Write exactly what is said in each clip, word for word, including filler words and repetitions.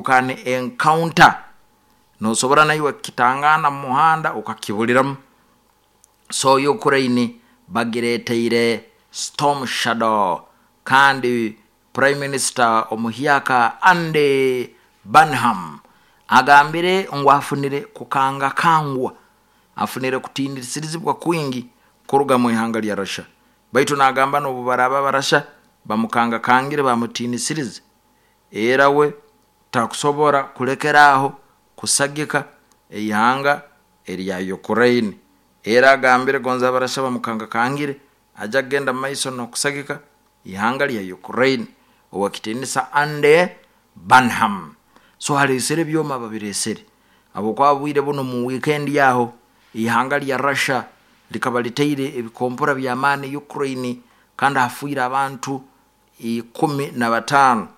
Can encounter, nosobora naiwe kukitangana mu muhanda okakibuliramu. So Ukraine bagireteire Storm Shadow, kandi Prime Minister omuhyaka Andy Burnham agambire ngu afunire kukangakangwa, afunire kutinisirizibwa kwingi kuruga mu ihanga lya Russia. Baitu nagamba n'obu baraaba Abarasha bamukangakangire, bamutinisirize, era we takusobora kulekeraaho kusagika eihanga erya Ukraine. Era agambire gonza Abarasha bamukangakangire, ajja kugenda mumaiso n'okusagika ihanga lya Ukraine. Owekitinisa Andy Burnham so aleesere ebyoma, babireesere habwokuba bwire buno mu weekend aho ihanga lya Russia likaba liteire ebikompora by'amaani Ukraine, kandi hafiire abantu ikumi na bataano.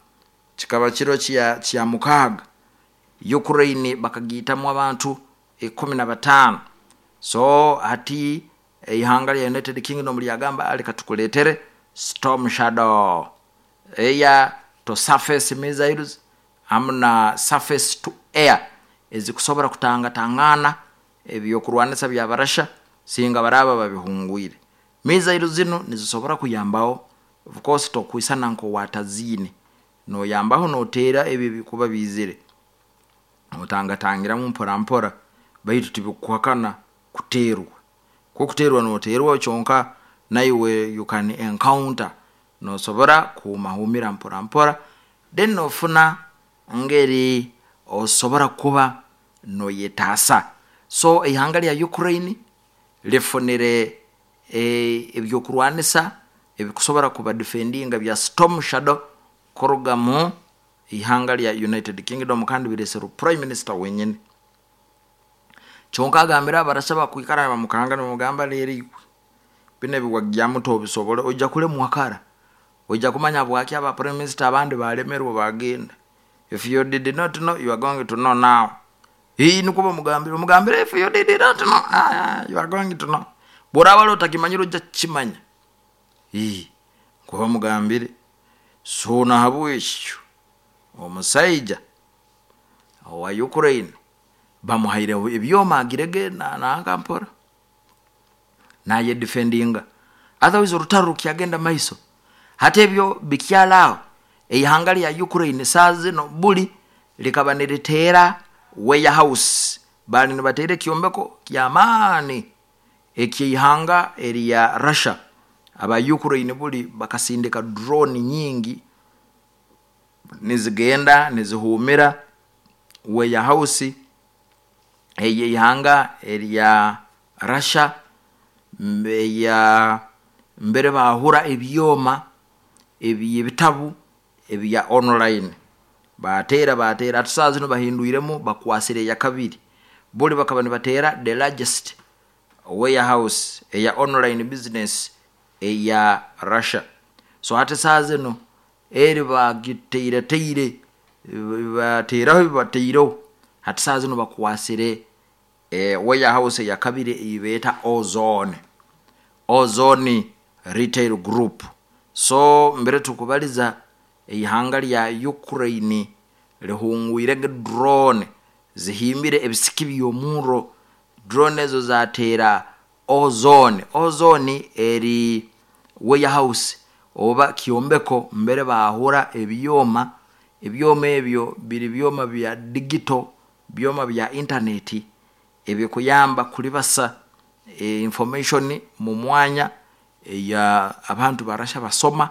Kikaba kiro kya kya mukaaga, Ukraine bakagiitamu abantu ikumi na bataano. So hati eihanga lya United Kingdom lyagamba, leka tukuleetere Storm Shadow air to surface missiles hamu na surface to air, ezikusobora kutangatangana ebyokurwanisa by'Abarasha singa baraaba babihungwire. Missile zinu nizisobora kuyambaho, of course tokwisana nk'owataziine, noyambaho noteera ebi ebikuba biizire, otangatangiramu mpora mpora, baitu tibikuhakana kuteerwa. Kukuteerwa noteerwa kyonka naiwe you can encounter, nosobora kuhumahumira mpora mpora, then nofuna ngeri osobora kuba noyetaasa. So eihanga lya Ukraine lifunire ebyokurwanisa ebikusobora kubadefendinga bya Storm Shadow kuruga mu ihanga lya United Kingdom, kandi bireserwe Prime Minister wenyini. Kyonka agambire Abarasha bakwikara nibamukanga, nibamugamba, leero iwe bino ebiwagyamu tobisobora, ojja kulemwa kara, ojja kumanya habwaki aba prime minister abandi balemerwe bagenda. If you did not know, you are going to know now. Ii nukwo bamugambire, bamugambire, if you did not know, ah, you are going to know, bworaba wali otakimanyire ojja kukimanya. Ii nkuba bamugambire. So nahabwekyo omusaija owa Ukraine bamuhaire ebyoma, agirege nanka mpora nayedefendinga, otherwise orutaro rukyagenda maiso. Hati ebyo bikyali aho, eihanga lya Ukraine saa zino buli likaba niriteera warehouse, baali nibateera ekyombeko kyamaani ekyeihanga erya Russia. Aba Ukraine buli bakasindika drone nyingi nizigenda nizihumira warehouse eyeihanga erya Russia, eya mbere bahura ebyoma ebyebitabu ebya online, bateera bateera. Hati saaha zinu bahindwiremu, bakwasire eyakabiri. Buli bakaba nibateera the largest warehouse eya online business eya Russia. So hati saaha zinu eri bagiteireteire, bateeraho ebibateireho, hati saaha zinu bakwasire e, warehouse eyakabiri eyibeeta Ozone, Ozone Retail Group. So mbere tukubaliza, eihanga lya Ukraine lihungwire drone zihimbire ebisiki by'omurro. Drone ezo zateera Ozone. Ozone eri warehouse oba kyombeko mbere bahura ebyoma. Ebyoma ebyo biri byoma bya digital, byoma bya intaneti ebikuyamba kulibasa e, information mu mwanya eya abantu Barasha basoma,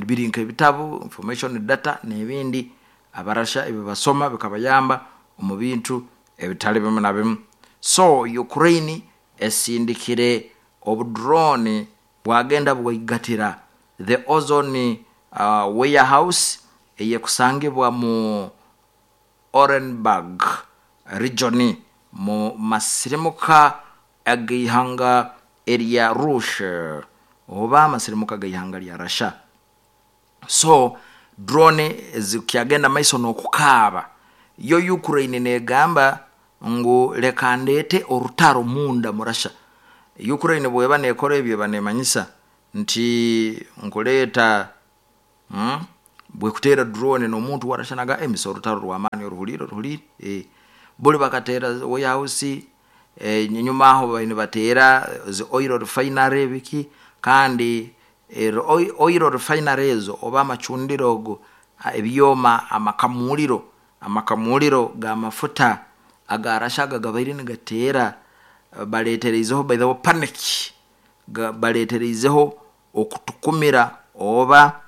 biri nk'ebitabu, information, data n'ebindi Abarasha ebi basoma bikabayamba omu bintu ebitali bimu na bimu. So Ukraine esindikire obudrone bwagenda bwaigatira the Ozone uh, warehouse eyekusangibwa mu Orenburg region, mu masirimuka ag'eihanga erya Russia oba amasirimuka ag'eihanga lya Russia. So drone zikyagenda maiso n'okukaaba. Yo Ukraine negamba ngu leka ndeete orutaro munda mu Russia. Ukraine bweba nekora ebyo, eba nemanyisa nti nkuleeta, hmm? Bwekutera drone n'omuntu warashanaga emisa orutaro rw'amaani oruhuliire oruhuliire eh. Buli bakatera warehouse eh, nyuma aho baine bateera zi oil refinery biki, kandi eh, oil oil refinery ezo oba amacundiro ogo ebyoma amakamuliro amakamuliro g'amafuta aga Rasha aga gabaire nigateera, baleetereizeho by the way panic, baleetereizeho okutukumira oba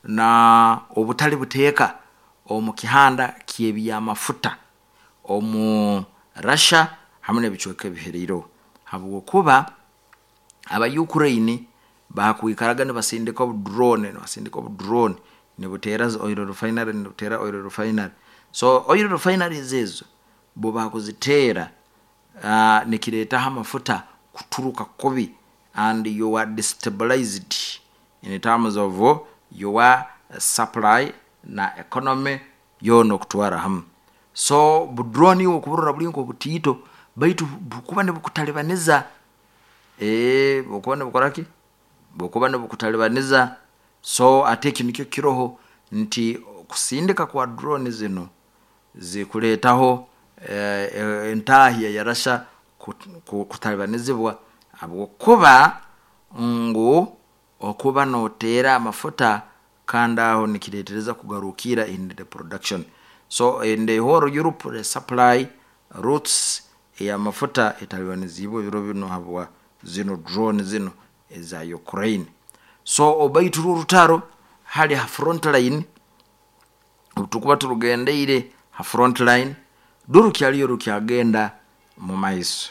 na obutali buteeka omu kihanda ky'ebyamafuta omu Russia hamu n'ebicweka ebiheraireho, habwokuba aba Ukraine baakwikaraga nibasindika obu drone nibasindika obu drone nibuteera zi oil refinery, nibuteera oil refinery. So oil refineries ezo bo baakuziteera, uh, nikireetaho amafuta kuturuka kubi and you are destabilized in terms of your supply na economy yoona okutwara hamu. So bu drone iwe okuburora buli nk'obutiito, baitu bukuba nibukutalibaniza, ee, bukuba nibukora ki, bukuba nibukutalibaniza. So ate eki nikyo kiroho nti okusindika kwa drone zinu zikuleetaho eh, entahya ya Russia kutalibanizibwa, habwokuba ngu okuba noteera amafuta kandi aho nikireetereza kugarukira in the production. So in the whole Europe the supply routes ey'amafuta etalibanizibwe ebiro binu habwa zinu drone zinu eza Ukraine. So obaitu rwo orutaro hali ha front line, obu tukuba turugendeire ha front line rurukyaliyo rukyagenda mu maiso,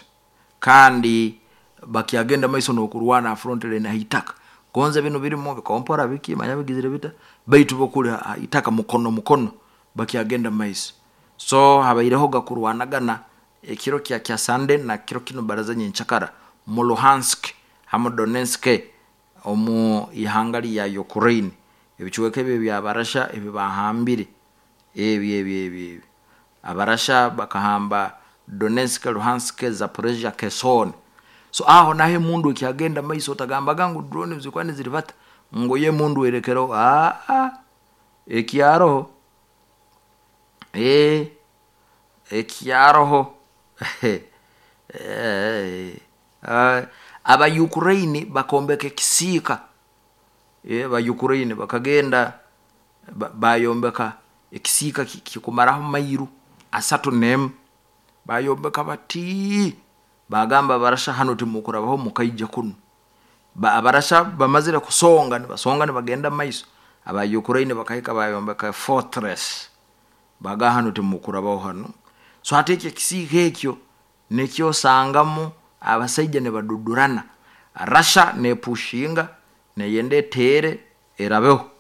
kandi bakyagenda maiso n'okurwana ha front line haitaka. Gonze binu birimu bikompora biki manya bigizire bita, baitu bo kuli haitaka mukono mukono bakyagenda maiso. So habaireho kurwanagana ekiro kya kya Sunday na kiro kinu baraza nyenkyakara mu Luhansk hamu Donetsk omu ihanga lya Ukraine, ebicweka ebi eby'Abarasha ebi bahambire ebi ebi ebi ebi Abarasha bakahamba Donetsk, Luhansk, Zaporizhia, Kherson. So aho naho emundu ekyagenda maiso, otagambaga ngu drone zikuba niziribata ngu yo emundu erekereho, aa, ekyaroho ee, ekyaroho aba Ukraine bakombeka ekisiika, aba Ukraine bakagenda bayombeka ekisiika kikumaraho mairu asatu n'emu, bayombeka bati, bagamba Abarasha hanu timukurabaho mukaija kunu. Abarasha bamazire kusonga nibasonga nibagenda maiso, aba Ukraine bakahika bayombeka fortress, bagamba hanu timukurabaho hanu. So hati eki ekisiika ekyo nikyo osangamu abasaija nibadudurana, Russia nepushinga neyenda eteere erabeho,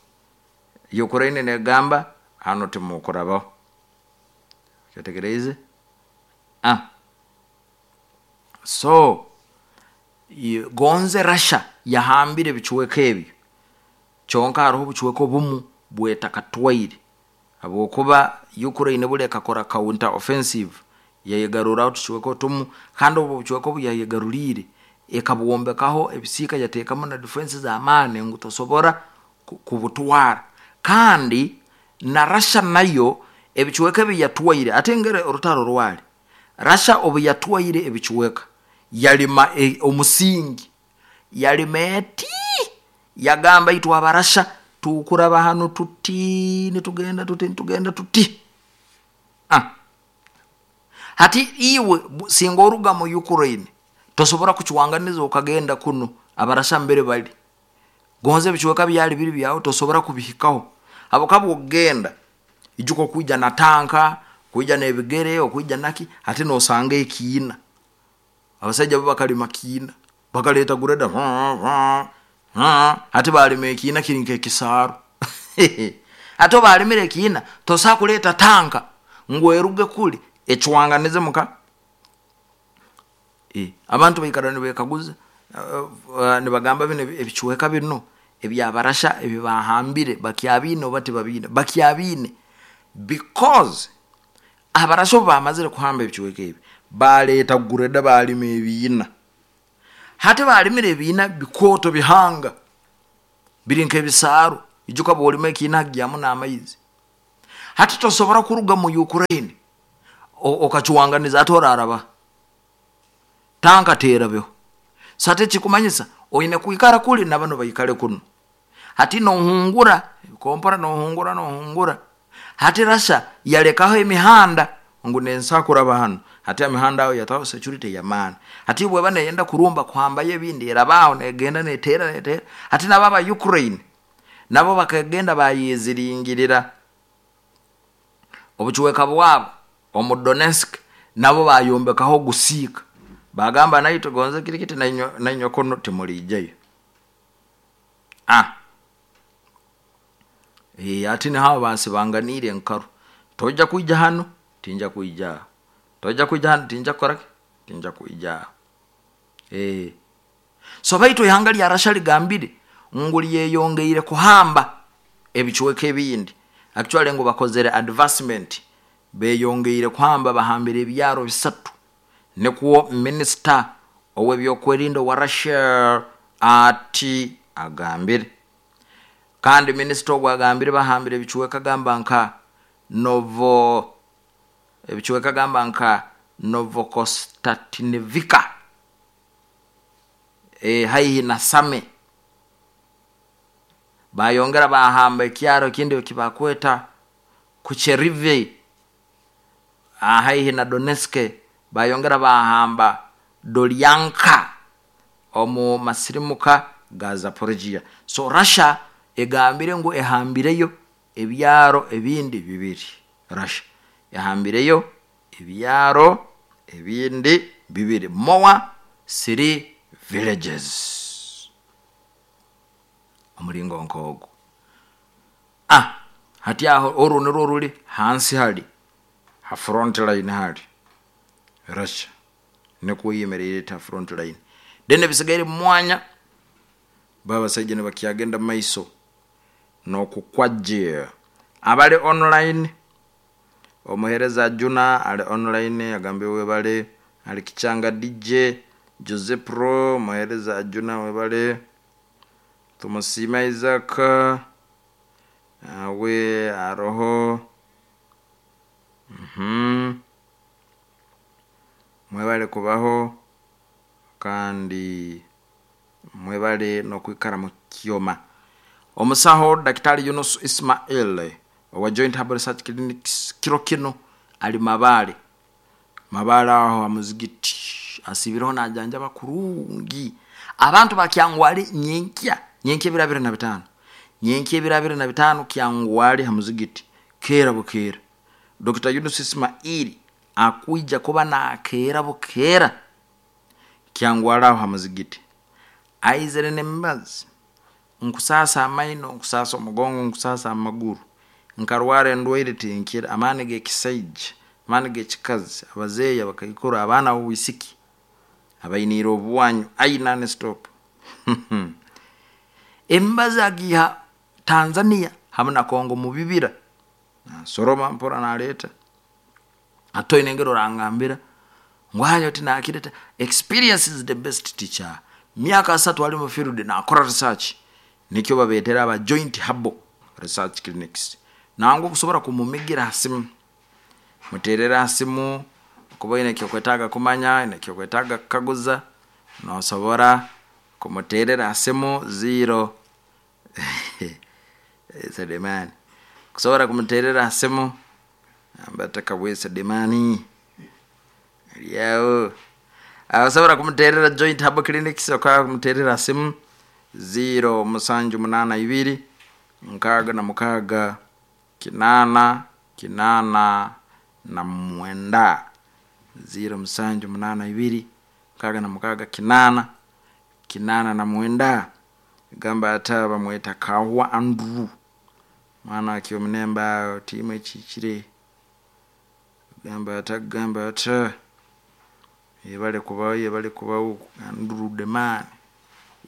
Ukraine negamba hanu timukurabaho. Kyetegereize? Ah. So gonze Russia yahambire ebicweka ebyo, kyonka haroho obucweka obumu bwetakatwaire, habwokuba Ukraine buli ekakora counter offensive yayegarurraho otucweka otumu, kandi obu obucweka obu yayegaruliire ekabwombekaho ebisiika yateekamu na defense z'amaani ngu tosobora kubutwara. Kandi na Russia nayo ebicweka ebi yatwaire, ate ngere orutaro rwali, Russia obu yatwaire ebicweka yalima e, omusingi, yalima eti, yagamba itwe Abarasha tukuraba hanu tuti nitugenda tuti nitugenda tuti. Ah. Hati iwe singa oruga mu Ukraine tosobora kucwanganiza okagenda kunu Abarasha mbere bali, gonze ebicweka byali biri byawe tosobora kubihikaho, habwokuba okugenda ijuka okwija na tanka, okwija n'ebigere, okwija naki, hati nosanga ekiina, abasaija bo bakalima kiina, bakaleeta grader hati balima ekiina kiri nk'ekisaaru hati obu balimire ekiina tosobola kuleeta tanka ngu eruge kuli ecwanganize muka. E, abantu baikara nibekaguza, uh, uh, nibagamba binu ebicweka binu eby'Abarasha ebi bahambire bakyabiine oba tibabiine, bakyabiine, because Abarasha obu bamazire kuhamba ebicweka ebi baleeta grader balima ebiina. Hati balimire ebiina bikooto bihanga biri nk'ebisaaru. Ijuka bwolima ekiina hagyamu n'amaizi. Hati tosobora kuruga mu Ukraine okacuwanganiza ate oraraba tanka terabeho. Sate ekikumanyisa oine kwikara kuli nabano baikale kuno. Hati nohungura kompora nohungura nohungura. Hati Rasha yalekaho emihanda ngu nensa kuraba hano. Hati emihanda aho yataho security yamaani. Hati bweba neyenda kurumba kuhambayo ebindi erabaho negenda netera netera. Hati nabo aba Ukraine nabo bakagenda bayeziringirira obucweka bwabo omu Donetsk, nabo bayombekaho gusiika bagamba naitwe gonze kirikiti nainywe kuno timulijayo. Ah, e, ati niho basibanganiire enkaru. Tojja kwija hano, tinja kwija. Tojja kwija hano, tinja kukoraki, tinja kwija. Eh. So baitu ihanga lya Rasha ligambire ngu lyeyongeire kuhamba ebicweka ebindi. Actually ngu bakozere advancement, beyongeire kuhamba, bahambire ebyaro bisatu. Nikwo minister ow'ebyokwerinda wa Russia ati agambire. Kandi minister ogwo agambire bahambire ebicweka gamba nka Novo, ebicweka gamba nka Novokonstantinivka, e, haihi na Same. Bayongera bahamba ekyaro ekindi ekibakweta Kucherive, haihi na Donetsk. Bayongera bahamba Dolyanka omu masirimuka ga Zaporizhia. So Russia egambire ngu ehambireyo ebyaro ebindi bibiri. Russia ehambireyo ebyaro ebindi bibiri, more three villages omulingo nkogo. Ah, hati aho oru nirwo ruli hansi hali ha front line hali Russia nikwo yemereire ta front line. Then ebisigaire mu mwanya babasaija nibakyagenda maiso n'okukwajja. Abali online, omuhereza Juna ali online agambye webale, ali Kichanga D J Jose Pro, omuhereza Juna webale, Tumusima Isaac awe aroho, mhm mwebale kubaho kandi mwebale nokwikara mu kyoma. Omusaho Daktari Yunus Ismail owa Joint Herbal Research Clinics kiro kino ali Mabale. Mabale aho amuzigiti asibireho najanja bakurungi. Abantu bakyangwali nyenkya, nyenkya ebiro abiri na bitano. Nyenkya ebiro abiri na bitano kyangwali hamuzigiti kera bukera. Doctor Yunus Ismail akuija kuba nakera bukera kyangwali aho hamuzigiti. Aizere nembazi nkusasa amaino, nkusasa omugongo, nkusasa amaguru, nkarwara endwaire tinkira, amaani g'ekisaija, amaani g'ekikazi, abazeeyi, abakaikuru, abaana b'obwisiki abainiire obwanyu, aina ne stop. Embazi agiha Tanzania hamwe na Kongo mu bibira, nasoroma mpora naleeta atoine engero orangambira ngwayo tinakireta. Experience is the best teacher. Myaka asatu ali mu field nakora research, nikyo babetera aba Joint Herbal Research Clinics. Nangu kusobora kumumigira hasimu, muterera hasimu kuba ine kyokwetaga kumanya, ine kyokwetaga kukaguza, nosobora kumuterera hasimu zero Sedemani. Kusobora kumuterera hasimu ambataka bwe Sedemani lyao. Asobora kumuterera Joint Herbal Clinics oka kumuterera hasimu zero musanju munana ibiri nkaga na mukaga kinana kinana na mwenda. Zero musanju munana ibiri nkaga na mukaga kinana kinana na mwenda. Gamba ata bamweta Kahwa Andrew mwana akyo munemba timu ekiikire. Gamba ata gamba ata yebale kubawo, yebale kubawo Andrew the man.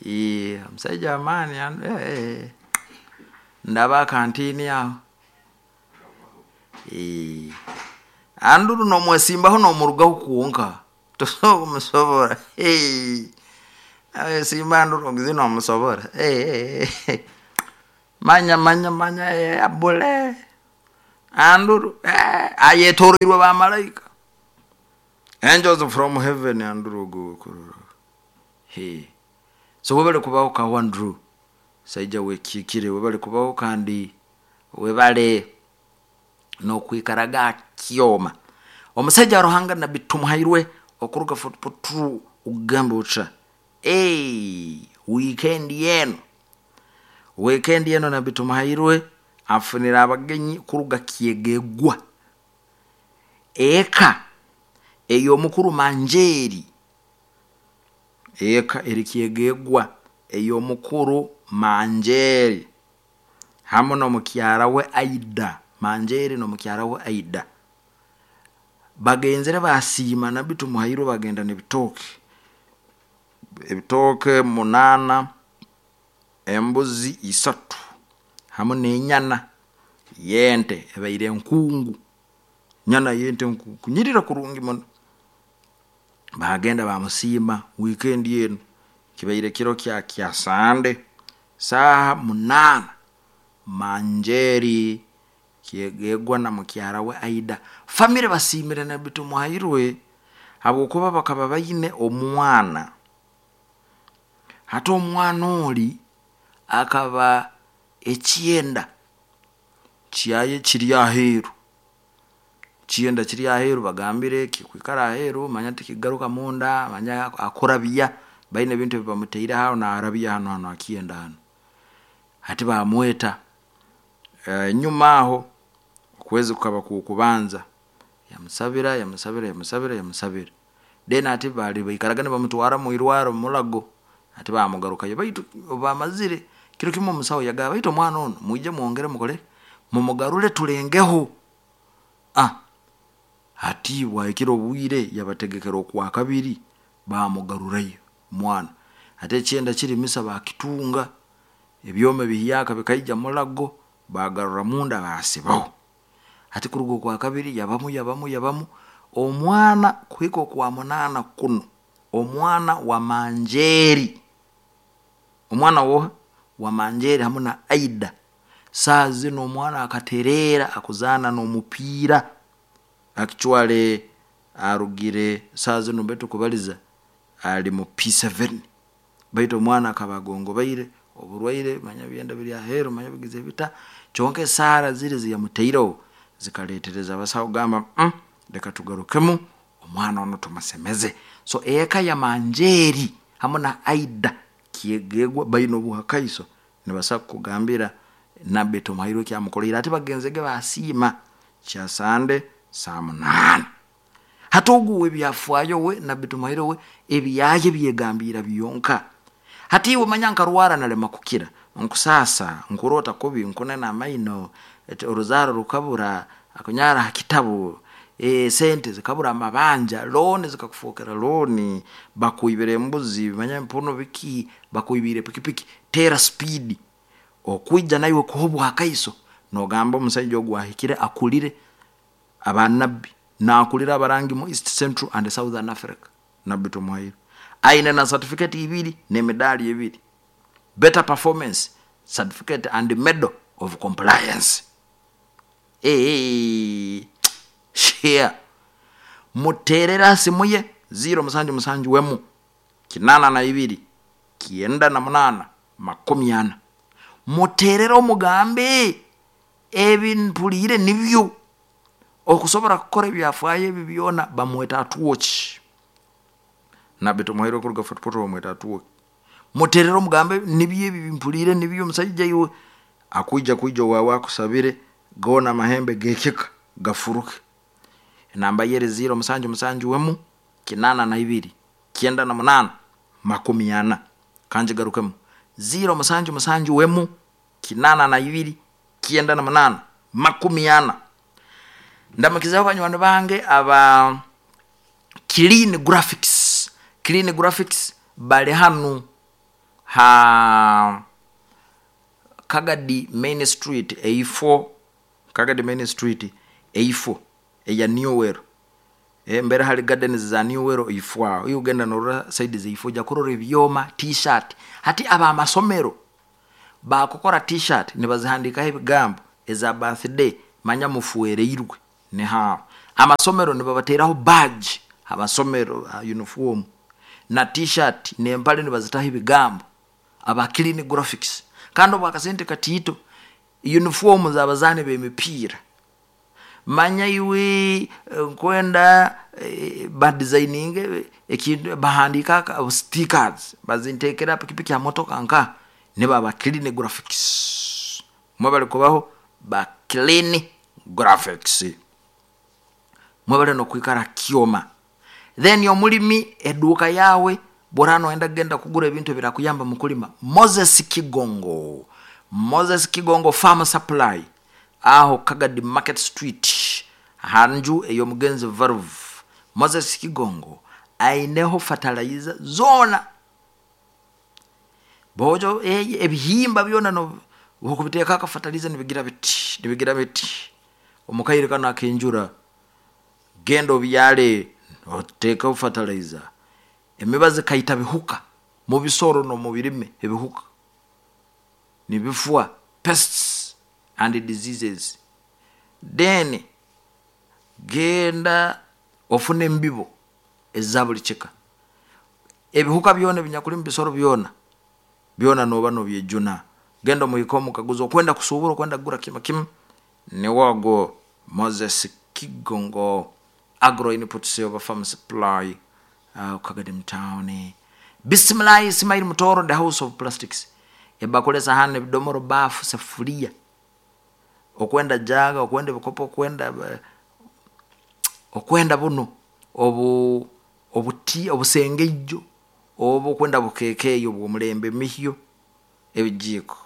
Eh, omusajja amaani eh, ndaba akantini aho. Eh, Andrew nomwesimbaho nomurugaho kwonka tosobola kumusobora. Eh, awe simba Andrew ngizi nomusobora. Eh, eh, eh. Manya manya manya eh, abule anduru eh, ayetoroirwe bamalaika angels from heaven anduru ogu kurora he. So webale kubaho ka Andrew saija wekikire, webale kubaho kandi webale nokwikaraga kyoma omusajja Ruhanga Nabbi Tumuhairwe okuruga Fort Portal ugamba uca hey, weekend yeno weekend yeno Nabbi Tumuhairwe afunira abagenyi kuruga Kyegegwa eka ey'omukuru Manjeri, eka eri Kyegegwa ey'omukuru Manjeri hamu n'omukyara we Aida. Manjeri n'omukyara we Aida bagenzere basiima Nabbi Tumuhairwe, bagenda n'ebitooke ebitooke munana, embuzi isatu hamu n'enyana yente ebaire enkungu, nyana yente nkungu nyirira kurungi muno. Bagenda bamusiima weekend eno kibaire kiro kya kya Sande saaha munana. Manjeri Kyegegwa na mukyara we Aida famire basiimire Nabbi Tumuhairwe habwokuba bakaba baine omwana. Hati omwana oli akaba ekyenda kyaye kiri aheeru, kyenda kiri aheeru, bagambire kikwikara aheeru manya tikigaruka munda, manya akurabya baine ebintu ebibamutaire aho naarabya hanu hanu akyenda hanu. Hati bamweta enyuma aho okwezi kukaba kukubanza, yamusabira yamusabira yamusabira yamusabira then hati bali baikaraga nibamutwara mwirwaro Mulago. Hati bamugarukayo, baitu bamazire kiro kimu omusawo yagamba baitu omwana ono mwije mwongere mukole mumugarure tulengeho. Ah, hati bwahikire obwire yabategekera okwa kabiri bamugarurayo mwana. Hati ekyenda kiri misa bakitunga ebyoma ebihyaka bikaija Mulago bagarura munda basibaho. Hati kuruga okwa kabiri yabamu yabamu yabamu omwana kuhika okwa munana kuno omwana wa Manjeri, omwana woha wa Manjeri hamu na Aida. Saa zino omwana akaterera akuzaana n'omupiira actually arugire saa zino baitu kubaliza ali mu P seven, baitu omwana akaba agongobaire oburwaire manya byenda biri aheeru manya bigize bita, kyonka esaara ziri ziyamutaireho zikaletereza abasaho kugamba mm, leka tugarukemu omwana ono tumusemeze. So eka ya Manjeri hamu na Aida Kyegegwa baine obuhakaiso nibasa kugambira Nabbi Tumuhairwe kyamukoleire. Ati bagenzege basiima kya Sande saa munaana. Hati ogu ebyafaayo we Nabbi Tumuhairwe we ebyaye byegambira byonka. Hati iwe manya nkarwara nalema kukira, nkusasa nkurota kubi, nkunena amaino, oruzaaro rukabura, akunyara ha kitabu, e, sente zikabura amabanja, looni zikakufokera looni, bakuibire embuzi manya empuno biki, bakuibire pikipiki, tera speed okwija naiwe kuha obwakaiso nogamba omusaija ogu ahikire akulire abanabbi nakulira abarangi mu East Central and Southern Africa. Nabbi Tumuhairwe aine na certificate ibiri n'emidali ebiri, better performance certificate and medal of compliance. Hey, share muterera simu ye zero musanju musanju wemu kinana na ibiri kienda na munana makumi ana, muterera omugambe ebimpulire nibyo okusobora kukora ebyafaayo ebi byona. Bamweta atuwoki Nabbi Tumuhairwe kuruga Fort Portal bamweta atuwoki. Muterera omugambe nibyo ebi bimpulire nibyo omusaija iwe akuija kuija owawe akusabire gona amahembe gekika gafuruke. Enamba yeri zero musanju musanju wemu kinana na ibiri kyenda na munana makumi ana, kanjigarukemu zero musanju musanju wemu kinana na ibiri kyenda na munana makumi ana. Ndamukizaho banywani bange aba Clean Graphics. Clean Graphics bali hanu ha Kagadi Main Street A four, Kagadi Main Street A four eya Newell. E, mbere hali gardens za Newell A four aho. Iyo ugenda norora side za A four ja kurora ebyoma t-shirt. Hati aba masomero Bakukora t-shirt nibazihandikaho ebigambo eza birthday, manya mufuereirwe. Nihaho amasomero nibabateraho badge, amasomero uniform na t-shirt nempale nibazitaho ebigambo, aba clean graphics. Kandi obwakasente katiito uniform z'abazaani b'emipiira, manya iwe nkwenda badesigninge ekintu bahandiika stickers bazintekera pikipiki ha motoka nka nibo aba clean graphics. Mwebale kubaho ba clean graphics, mwebale nokwikara kyoma. Then omulimi eduuka yawe bwora noyenda kugenda kugura ebintu ebirakuyamba mukulima, Moses Kigongo, Moses Kigongo Farm Supply, aho Kagadi Market Street, hanju ey'omugenzi Valve. Moses Kigongo aineho fertilizer zona, bojo ebihimba byona no okubiteeka fertilizer nibigira biti nibigira biti. Omukaire kano akenjura genda obyale otekeho fertilizer, emibazi kaita bihuka mubisoro nomubirime, ebihuka nibifwa, pests and diseases. Then genda ofune embibo eza buli kika, ebihuka byona ebinyakuli mubisoro byona byona noba nobyejuna. Genda omuhike omukaguzo okwenda kusubura, okwenda kugura kimu kimu, niwogo Moses Kigongo Agro Inputs oba Farm Supply, uh, Kagadi Town. Bismillah Ismail Mutoro, the House of Plastics, ebakule sahani ebidomoro bafu sefuria, okwenda jaga, okwenda ebikopo, okwenda okwenda buno obu obuti obusengeijo obu okwenda bukekeyo obw'omulembe, mihyo ebijiko,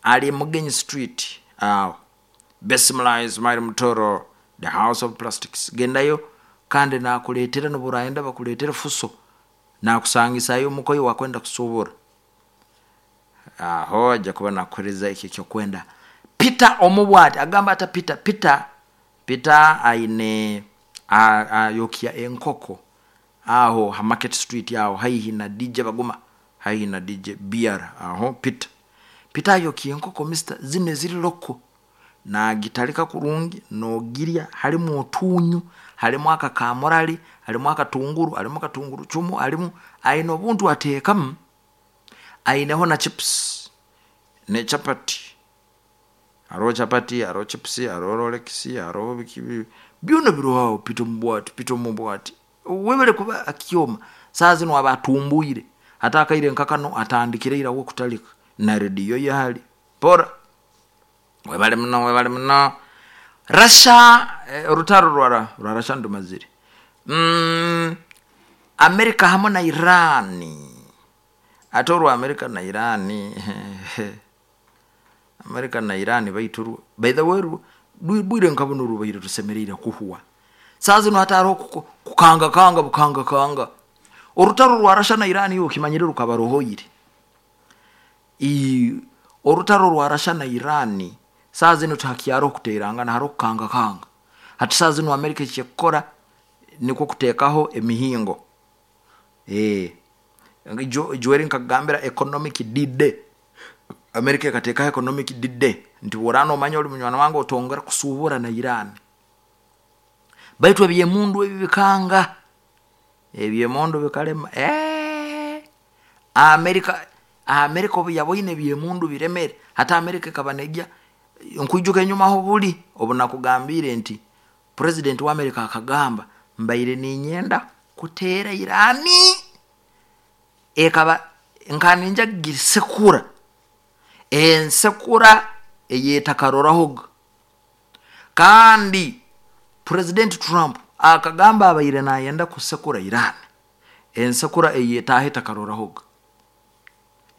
ali Mugenyi Street aho. Bismillah Ismail Mutoro, the House of Plastics, gendayo kandi nakuletera noburayenda bakuletere fuso nakusangisayo omukoyi wakwenda kusubura, aho ajja kuba nakuhereza ekyo ekyokwenda. Peter omubwati agamba ata Peter, Peter Peter aine ayokya enkoko aho ha Market Street aho haihi na D J Baguma, haihi na D J B R aho. Peter Peter ayokya enkoko mister zino eziri loko nagitalika kurungi nogirya, halimu otunyu, halimu akakamurali, halimu akatunguru, halimu akatunguru chumu, halimu aine obuntu ateekamu, aineho na chips ne chapati, hariho chapati, hariho chips, hariho Rolex, hariho biki byona biroho. Peter mubwati, Peter mubwati webale kuba akioma. Saa zino aba atumbuire hata akaire nkakano atandikire ira kutalika na radio yahali pora. Webale muno, webale muno. Russia eh, orutaro rwara rwa Russia ndumazire. Mm, Amerika hamwe na Irani, ate orwa Amerika na Irani Amerika na Irani baituru by the way bwire nkabuno rubaire tusemerire kuhuwa. Saa zino hataro kukanga kanga bukanga kanga. Orutaro rwa Russia na Irani yo kimanyire rukabarohoire. I orutaro rwa Russia na Irani saa zino takiaro kuterangana haro kukanga kanga. Hati saa zino Amerika ekikora niko kutekaho emihingo. Eh jweri nkagambira economic D-Day. Amerika ekatekaho economic D-Day nti worano omanya oli munywana wange otongera kusubura na Iran. Baitu ebyemundu ebi bikanga, ebyemundu bikalema. Eh Amerika Amerika obu yaboine ebyemundu biremere, hata Amerika ekabanegya nkuijuka enyuma aho buli obunakugambire nti president wa Amerika akagamba mbaire ninyenda kuteera Irani ekaba nkaninja gisekura ensekura eyetakarorahoga. Kandi President Trump akagamba abaire nayenda kusekura Iran ensekura eyetahe takarorahoga,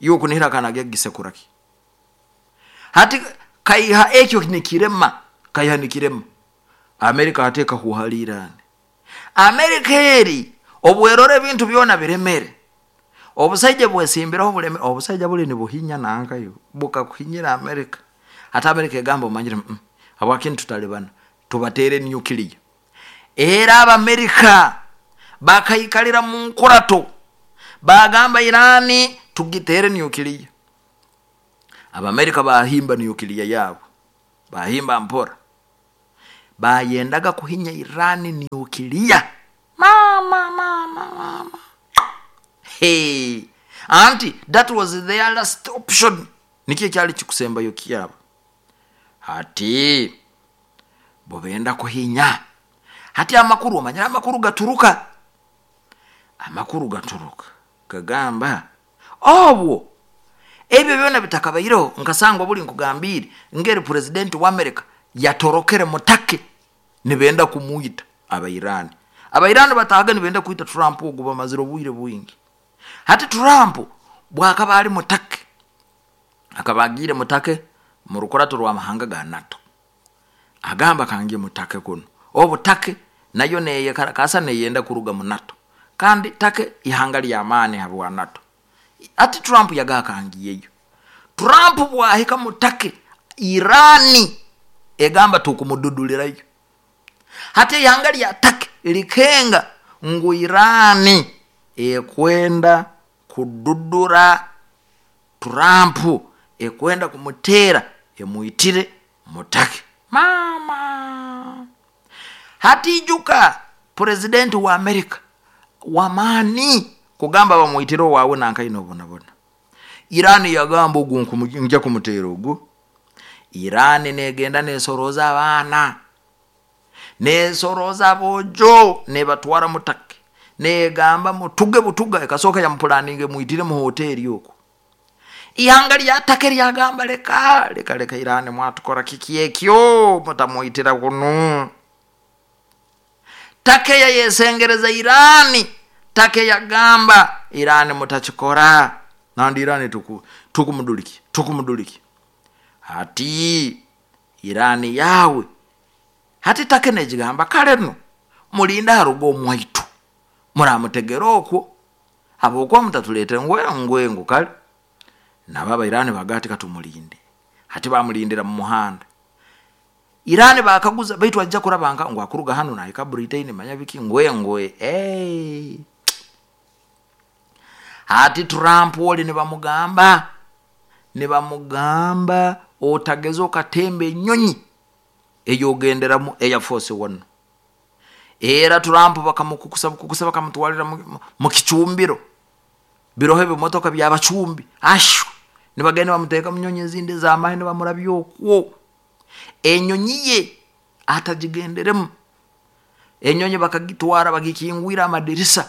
yo kunihira kana gisekura ki hati kaiha ekyo nikirema, kaiha nikirema. Amerika ateka huhali Iran. Amerika eri obwerore ebintu byona biremere, obusaija bwesimbiraho buleme, obusaija buli nibuhinya nankayo bukakuhinyira Amerika. Hata Amerika egamba omanyire mm, habwaki tutalibana tubatere nuclear. Era Abamerika bakaikalira mu nkurato bagamba Irani tugitere nuclear. Abamerika bahimba nukiliya yabo, bahimba mpora, bayendaga kuhinya Irani nukiliya. Mama mama mama, hey, anti that was their last option, nikyo kyali kikusembayo kyabo. Hati bobenda kuhinya, hati amakuru omanyira amakuru gaturuka, amakuru gaturuka gagamba obwo ebyo byona bitakabaireho. Nkasangwa buli nkugambire ngeri president wa America yatorokere mutake nibenda kumuita Abairani. Abairani batahaga nibenda kuita Trump ogu bamazire obwire bwingi. Hati Trump bwakaba ali mutake, akaba agiire mutake mu rukurato rw'amahanga ga NATO, agamba kange mutake kuno obutake nayo neye kasa neyenda kuruga mu NATO, kandi take ihanga ly'amaani habwa NATO. Ati Trump yagakangiyeyo. Trump bwahika mutake Irani egamba tukumududulirayo. Hati ihanga lya take likenga ngu Irani ekwenda kududura Trump, ekwenda kumutera emuitire mutake. Mama, hati ijuka president wa America wamani kugamba bamuitire wawe nankaino bonabona. Irani yagamba ogu nja kumutera ogu. Irani negenda nesoroza abaana, nesoroza bojo, nebatwara mutake, negamba mutuge butuga, ekasoka ya mpulaninge muitire mu hoteli okwo. Ihanga lya take lyagamba leka leka leka, Irani mwatukora kiki ekyo mutamuitira kuno. Take ya yesengereza Irani, take yagamba Irani mutachikora, nandi Irani tuku tukumuduliki tukumuduliki. Hati Irani yawe hati take nejigamba kale no mulinda harugo omwaitu muramutegera okwo abokwa mutatulete ngwe ngwe ngo kale. Nababa Irani bagati katumulinde. Hati bamulindira mu muhanda. Irani bakaguza baitu ajja kurabanga ngo akuruga hano na ika Britain manya biki ngwe ngwe. Hey. Hati Trump woli ne bamugamba ne bamugamba otageza okatembe ennyonyi eyogenderamu Air Force One. Era Trump bakamukukusa bukukusa bakamutwalira mu kicumbiro birohe bimotoka byabacumbi ashu nibagenda bamuteka mu nyonyi ezindi z'amahe ne bamurabya okwo. Enyonyi ye atagigenderemu, enyonyi bakagitwara bagikingwira amadirisa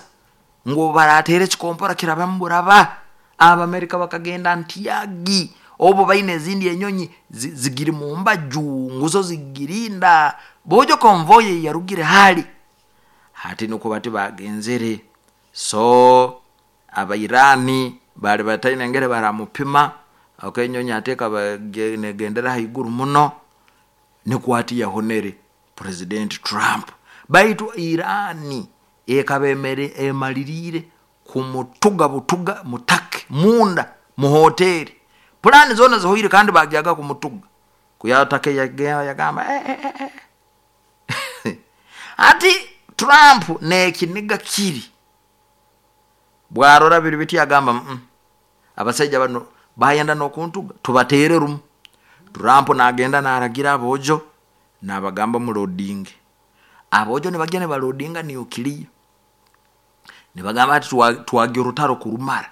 ngo baratere kikompora kirabamburaba. Abamerika bakagenda ntiyagi obo baine ezindi enyonyi zigiri mu mbaju nguzo zigirinda bojo konvoye yarugire hali. Hati nuko bati bagenzere. So Abairani bali bataine ngere baramupima akenyonyi ateka bagendera haiguru muno nikwati yahonere President Trump. Baitu Irani ekabemere emalirire kumutuga butuga mutake munda mu hoteli plani zona zohire kandi bagyaga kumutuga kuyatake yagamba eh, eh, eh. Ati Trump nekiniga kiri bwarora biri biti agamba mm, abasajja bano bayenda nokuntuga tubatere rumu. Trump nagenda naragira abojo nabagamba mu loading. Abojo nibagenda balodinga nuclear, nibagamba ati twagira rutaro kurumara,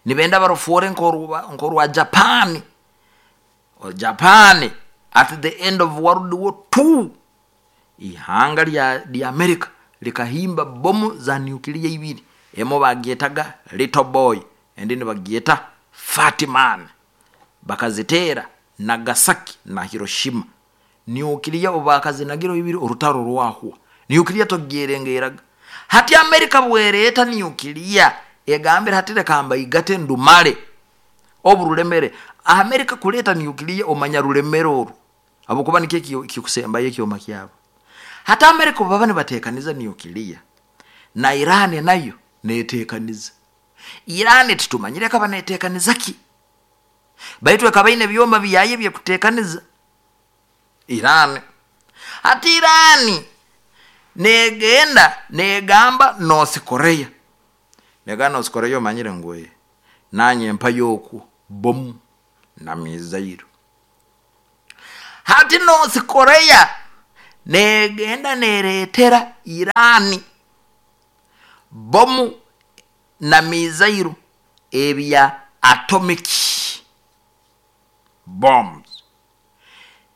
nibenda barofore nkoruba nkorwa Japan. O Japan at the end of World War Two ihanga lya lya America likahimba bomu za nuclear ibiri, emo bagyetaga Little Boy endi nibagyeta Fat Man, bakazitera Nagasaki na Hiroshima. Nuclear obakazinagiro ibiri orutaro rwahwa nuclear togyerengeraga. Hati America bwereta nuclear egambira hati rekamba igate ndumale oburulemere. America kuleta nuclear omanya rulemere oru abokuba nikye kikusemba yekyoma kyabo. Hata America baba nibatekaniza nuclear na Iran nayo netekaniza. Iran titumanyire kaba netekaniza ki, baitu kabaine byoma byaye bye kutekaniza Iran. Hati Iran negenda negamba North Korea, nega North Korea manyire ngwe nanye mpa yoku bomu Na mizairo hati North Korea negenda neretera Irani bomu na mizairo ebya atomic bombs,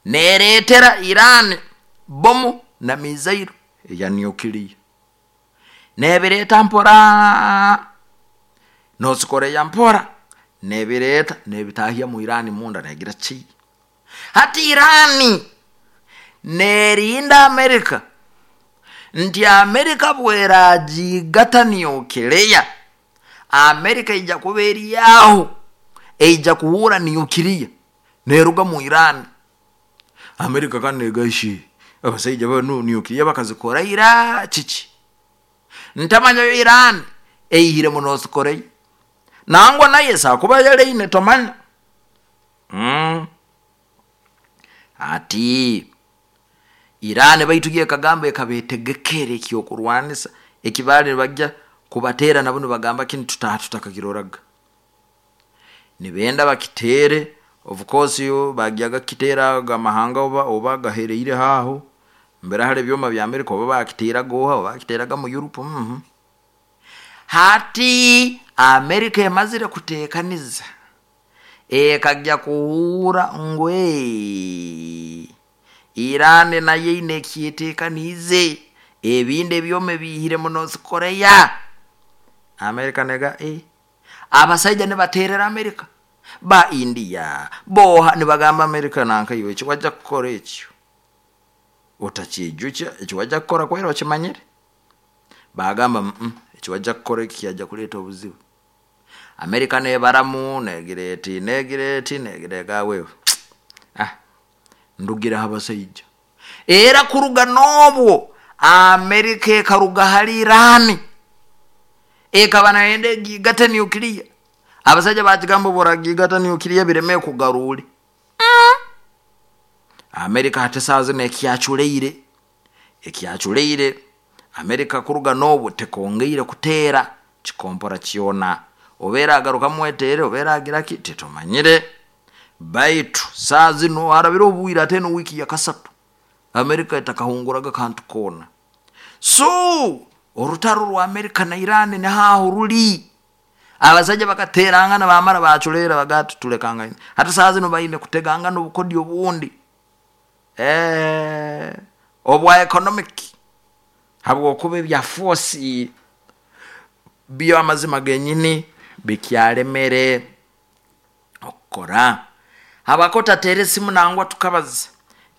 neretera Irani bomu na mizairo eya nuclear, nebireta mpora North Korea mpora nebireta nebitahya mu Irani munda negira ki. Hati Irani nerinda Amerika nti Amerika bweragigata nuclear, Amerika ija kuba eriyaho eija kuhura nuclear neruga mu Irani. Amerika kandi negaishi abasaija banu nuclear bakazikora ira kiki ntamanya Irani eihire mu North Korea nangwa naye sakuba yaleine tomanya mm. Ati Irani baitugiye kagamba ekabetegekere ekyokurwanisa ekibali bajja kubatera nabo nibagamba kini tutaha tutakakiroraga nibenda bakitere. Of course yo bagyaga kitera gamahanga oba oba gahereire haho mbere hale byoma bya Amerika oba bakitera goha oba bakiteraga mu Europe. mm -hmm. Hati Amerika emazire kutekaniza ekajja kuhura ngwe Irani naye ine ekyetekanize ebindi ebyoma bihire mu North Korea. Amerika nega eh abasaija nibaterera Amerika ba India boha nibagamba Amerika nanka iwe ekiwajja kukora ekyo otakijukya ekiwajja kukora kwera okimanyire. Bagamba mm -mm, ekiwajja kukora eki kyajja kuleeta obuzibu. Amerika nebaramu negireti negireti negirega wewe ah ndugira abasaija era kuruga nobwo Amerika ekaruga hali Irani ekaba naende gigata nuclear. Abasaija bakigamba boragigata nuclear bireme kugarule. mm. Amerika hati saazi nekyachuleire ekyachuleire Amerika kuruga nobwo tekongeire kutera kikompora kyona obera agaruka mwetere obera agira ki tetomanyire. Baitu saazi no arabira obwira ate no wiki ya kasatu Amerika etakahunguraga kantu kona. So orutaro rwa Amerika na Irani ni haho ruli abasaija bakaterangana bamara bachulera bagati tulekanga hata saazi no baine kuteganga n'obukodi obundi eh obwa economic habwokuba ebya force byo amazima genyini bikyalemere okukora. Habakota tere simu nangwa tukabaza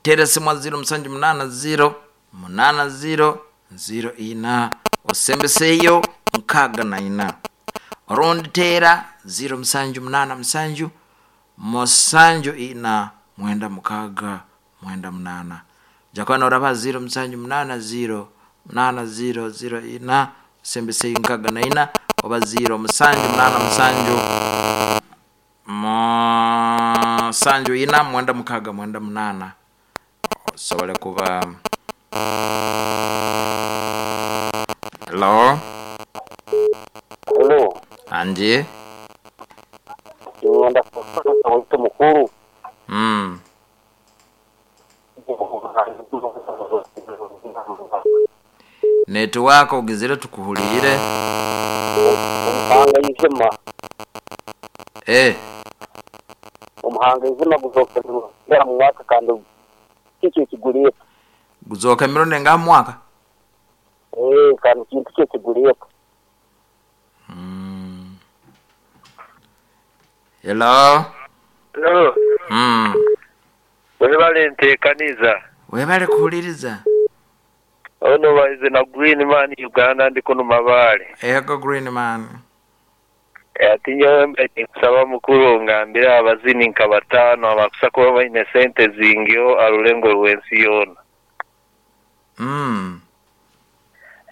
tere simu zero musanju munana zero munana zero zero ina osembeseyo nkaga na ina orundi tera zero musanju munana musanju musanju ina mwenda mukaga mwenda munana jakwana oraba zero musanju munana zero munana zero zero ina osembeseyo nkaga na ina oba zero musanju munana musanju musanju ina mwenda mukaga mwenda munana osobole kuba. Hello. Hello. Anje. Ngenda kufuata wito mukuru. Mm. Network ogizire tukuhulire. Omuhanga izima. Eh. Omuhanga izima guzoka mu mwaka kandi kiki kiguliye. Guzoka mirundi nga mwaka. Eh, kandi kintu kye kiguliye. Mm. Hello. Hello. Mm. Webale ntekaniza. Webale kuhuliriza. Ono baize na Green Man Uganda ndi kuno Mabale. Ego Green Man. Ati nyowe mbe kusaba mukuru ngambira abazini nka batano abakusa kuba baine sente zingyo arulengo rwensi yona. Mm.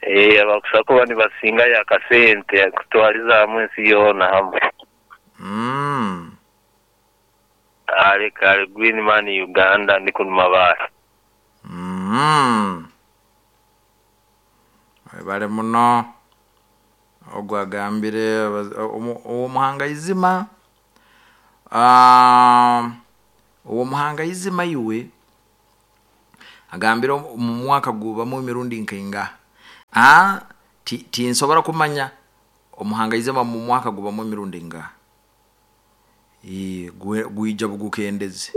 Eh abakusa kuba nibasinga ya kasente kutwaliza hamwe ensi yona hamwe. Mm. Ale kale Green Man Uganda ndi kuno Mabale. Mm. Webale muno ogwagambire omuhanga izima Ah, uwo muhangaizima iwe agambire mu mwaka gubamu emirundi nkaingaha. Ah, ti- tinsobora kumanya omuhangaizima mu mwaka gubamu emirundi ingaha. Eh, gwe- gwija bugukendeze.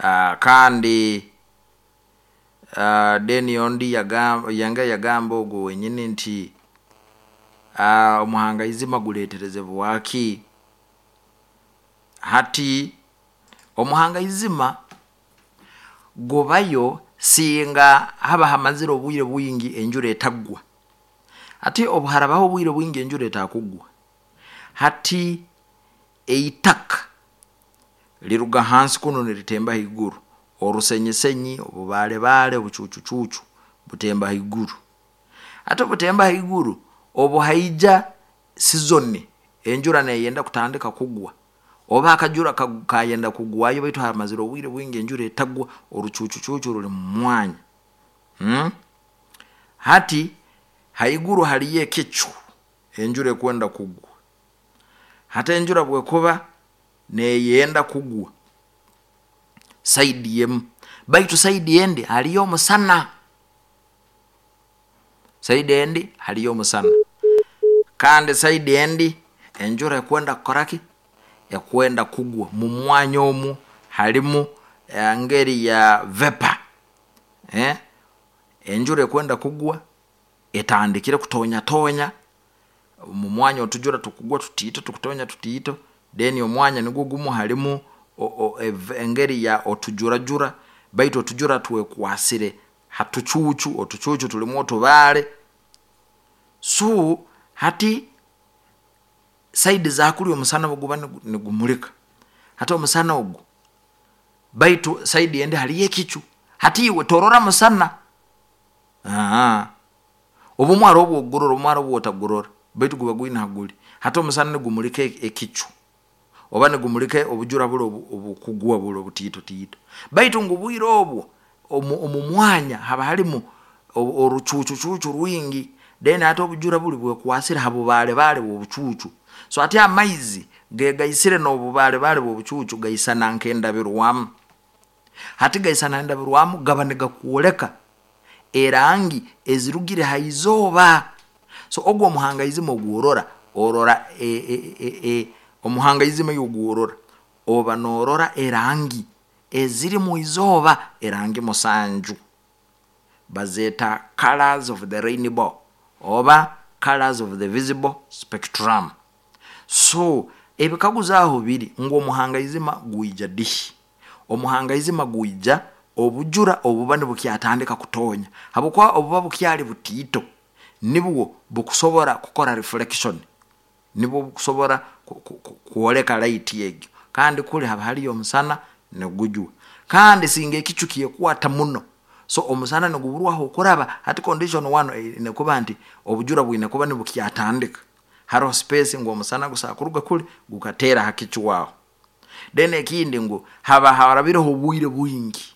Ah, kandi ah, deni ondi yagamba yanga yagamba ogwo wenyini nti ah, omuhangaizima guleeterezebwaki. Hati omuhangaizima gubayo singa haba hamazire obwire bwingi enjura etagwa. Hati obu harabaho obwire bwingi enjura etakugwa, hati eitaka liruga hansi kuno niritemba haiguru, orusenyisenyi, obubaalebaale, obucuucucuucu butemba haiguru. Hati obutemba haiguru, obu haija sizoni enjura neyenda kutandika kugwa, oba akajura ka- kayenda kugwayo, baitu hamazire obwire bwingi enjura etagwa, orucuucucuucu ruli mu mwanya. Hmm? Hati haiguru haliyo ekicu, enjura ekwenda kugwa. Hati enjura bwekuba neyenda kugwa saidi emu, baitu saidi endi haliyo omusana, saidi endi haliyo omusana, kandi saidi endi enjura ekwenda kukoraki, ekwenda kugwa. Mu mwanya omu halimu engeri ya vapor, eh? Enjura ekwenda kugwa etandikire kutonyatonya mu mwanya, otujura tukugwa tutiito, tukutonya tutiito, then omwanya nigwo gumu halimu o- o- ev- engeri ya otujurajura, baitu otujura twekwasire hatucuucu, otucuucu tulimu otubaale. So hati saidi zakuli omusana buguba nigu- nigumulika, hati omusana ogu, baitu saidi endi haliyo ekicu, hati iwe torora musana. Aa, obumwe hariho obwogurora, obumwe hariho obwotagurora, baitu guba gwine haguli. Hati omusana nigumulika e- ekicu oba nigumulika obujura buli obu- obukugwa buli obutiitotiito, baitu ngu bwire obwo omu omu mwanya haba halimu o- orucuucucuucu rwingi, then hati obujura buli bwekwasire ha bubaalebaale bw'obucuucu. So hati amaizi gegaisire n'obubaalebaale bw'obucuucu gaisana nk'endabirwamu. Hati gaisana endabirwamu, gaba nigakwoleka erangi ezirugire ha izooba. So ogwo omuhangaizima ogworora, orora e, e, e, e, omuhangaizima iwe ogworora, oba norora erangi eziri mu izooba, erangi musanju bazeeta colors of the rainbow oba colors of the visible spectrum. So ebikaguzo aho biri ngu omuhangaizima gwija dihi? Omuhangaizima gwija obujura obuba nibukyatandika kutonya, habwokuba obuba bukyali butiito nibwo bukusobora kukora reflection, nibwo bukusobora ku- ku- ku- kwoleka light egyo, kandi kuli haba haliyo omusana nigujwa, kandi singa ekicu kyekwata muno, so omusana niguburwaho okuraba. Hati condition one eine kuba nti obujura bwine kuba nibukyatandika, haroho space ngu omusana gusobola kuruga kuli gukateera ha kicu aho. Then ekindi ngu haba harabireho obwire bwingi,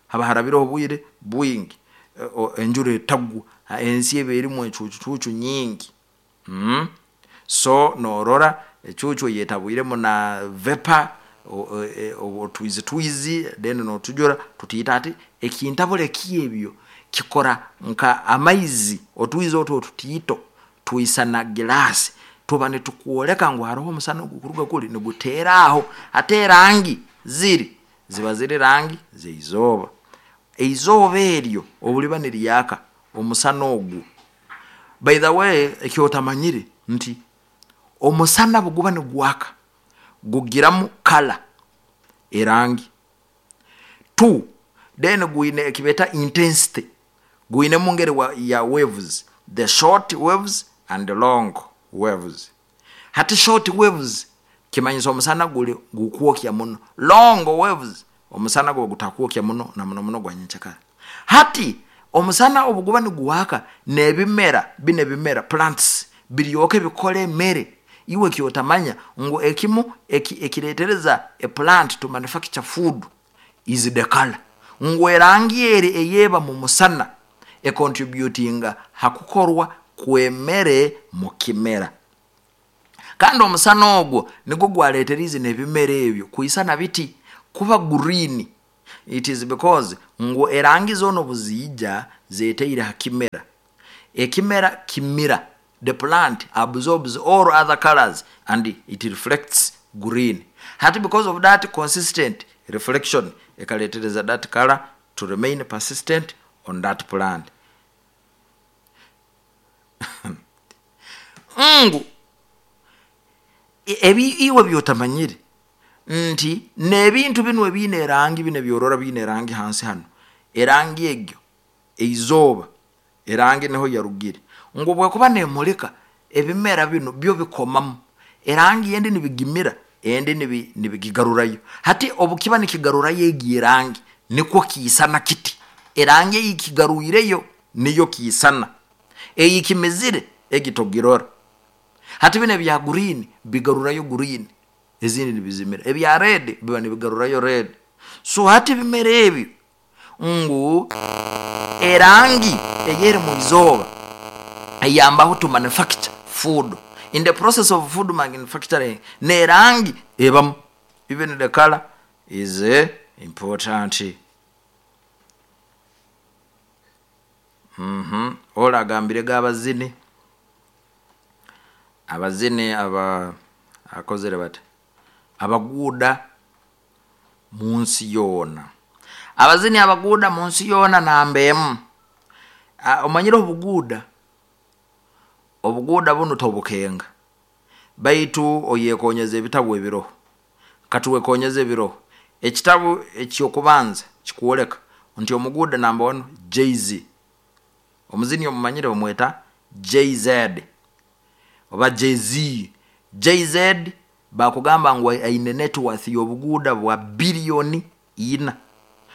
haba harabireho obwire bwingi e- o- enjura etagwa, ha- ensi eba erimu ecuucucuucu nyingi. Mm? So norora ecuucu eyetabwiremu na vapor, otwizi twizi, then notujura tutiito. Hati ekintabura ekyebyo kikora nka amaizi, otwizi otu otutiito twisana giraasi, tuba nitukwoleka ngu haroho omusana ogukuruga kuli niguteera aho. Hati erangi ziri ziba ziri rangi zeizooba, eizooba eryo obuliba niryaka omusana ogu. By the way, ekyotamanyire nti omusana buguba nigwaka gugiramu kala, erangi two, then gwine ekibeeta intensity, gwinemu ngeri wa, ya waves, the short waves and the long waves. Hati short waves kimanyisa omusana guli gukwokya muno, long waves omusana guba gutakwokya muno na muno muno gwa nyenkyakara. Hati omusana obuguba nigwaka, n'ebimera bino ebimera plants biryoke bikole emere. Iwe kyotamanya ngu ekimu eki, ekireetereza a plant to manufacture food is the color, ngu erangi eri eyeba mu musana econtributinga ha kukorwa kw'emere mu kimera. Kandi omusana ogwo nigwo gwaleeterize n'ebimera ebyo kwisana biti kuba green. It is because ngu erangi zoona obuziija zeteire ha kimera, ekimera kimira, the plant absorbs all other colors and it reflects green. Hati because of that consistent reflection ekaletereza that color to remain persistent on that plant. Ngu ebi iwe byotamanyire nti n'ebintu binu ebiine erangi, bino ebyorora biine erangi hansi hano, erangi egyo eizooba erangi niho yarugire, ngu bwekuba nemulika ebimera bino byo bikomamu erangi endi nibigimira, endi nibi- nibigigarurayo. Hati obukiba nikigarurayo egi erangi nikwo kiisana kiti, erangi eyikigaruireyo niyo kiisana, eyikimizire egi togirora. Hati bino ebya green bigarurayo green, ezindi nibizimira, ebya red biba nibigarurayo red. So hati ebimera ebyo ngu erangi eyeri mu izooba eyambaho to manufacture food. In the process of food manufacturing n'erangi ebamu, even the color is eh, important. Mhm ola agambire g'abazini, abazini aba akozere bati abaguuda mu nsi yoona, abazini abaguuda mu nsi yoona namba emu. Ah, omanyire obuguuda, obuguuda bunu tobukenga, baitu oyekonyeza ebitabu ebiroho. Katuwekonyeza ebiroho, ekitabu ekyokubanza kikwoleka nti omuguuda namba one Jay-Z, omuzini omumanyire bamweta Jay-Z oba Jay-Z. Jay-Z bakugamba ngu aine net worth y'obuguuda bwa biliyoni ina,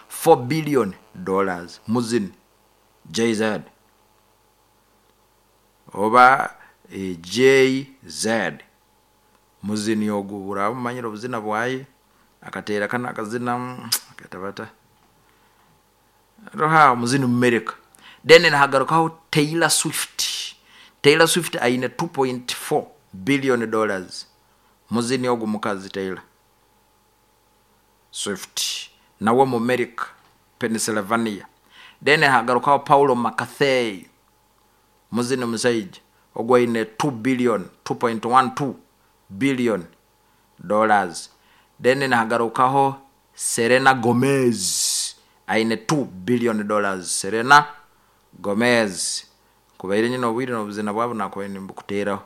four billion dollars, muzini Jay-Z oba eh, Jay-Z muzini ogu buraba mumanyire obuzina bwaye, akateera kana akazina mm, aketa bata roha omuzini mumerika. Then nahagarukaho Taylor Swift. Taylor Swift aine two point four billion dollars, muzini ogu mukazi Taylor Swift nawe mu America, Pennsylvania. Then hagarukaho Paulo McCartney, muzini musaija ogu aine two billion, two point one two billion dollars. Then nahagarukaho Selena Gomez aine two billion dollars. Selena Gomez kubaire nyine obwire n'obuzina bwabo nakubaire nimbukuteraho,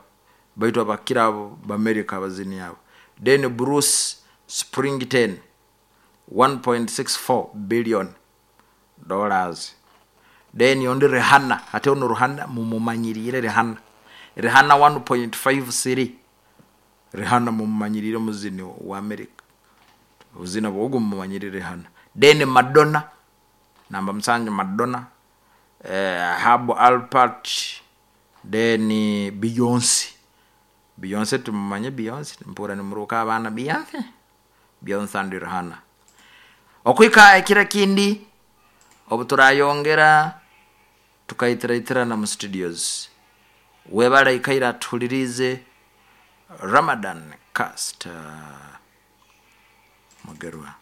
baitu abakira abo b'Amerika abazini abo. Then Bruce Springsteen one point six four billion dollars. Then ondi Rihanna, hati ono Rihanna mumumanyirire Rihanna, Rihanna one point five three, Rihanna mumumanyirire muzini wa America, obuzina bwogu mumumanyirire Rihanna. Then Madonna namba musanju Madonna, eh, Herb Alpert, then Beyonce. Beyonce tumumanye Beyonce, mpura nimuruka abaana Beyonce, Beyonce and Rihanna. Okwika ekira kindi obu turayongera tukaitiraitira mu studios. Webale ikaira tuhulirize Ramadan Cast Mugerwa.